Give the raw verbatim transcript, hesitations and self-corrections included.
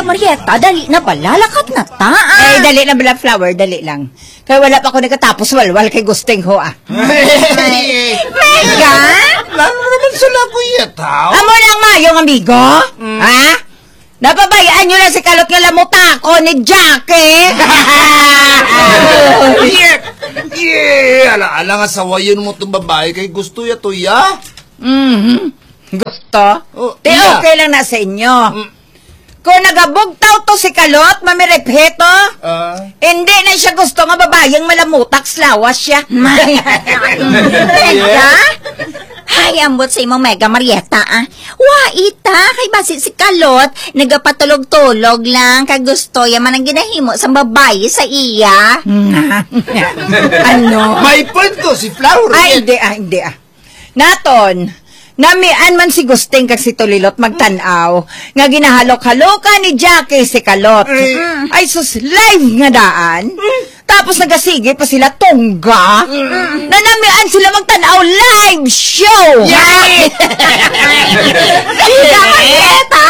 Marietta, dali na bala, lakat na ta. Eh, dali lang bala, Flower, dali lang. Kay wala pa ako nagkatapos walwal kay Gusting ho, ah. Ay, Mega? Lalo naman sa lagoy yataw. Amo lang mayong amigo? Mm. Ha? Napabayaan nyo lang si Kalot nga lamutako ni Jackie? Yeah, yeah, ala-ala nga sawayon mo tong babae kay gusto ya to ya. Mhm. Gusto? Oh, Te, iya. Okay lang na sa inyo. Mm. Kung nagabugtaw to si Kalot, mamirepheto, Ah. hindi na siya gusto nga babayang malamutak sa lawas siya. Talaga? Ay, ambot sa imong Mega Marietta, ah. Wa ita, kay basi si Kalot, nagapatulog-tulog lang, kag gusto ya man ang ginahimo sang babayi sa iya. Ano? May point to si Flower. Ay, hindi, ah, hindi, ah. Naton, namian man si Gusting kag si Tulilot magtan-aw nga ginahalok-halokan ni Jackie si Kalot. Mm. Ay, sus, live nga daan. Mm. Tapos nagasigi pa sila tungga. Mm. Na namian sila magtan-aw live show. Yay! Ida ka, Eta!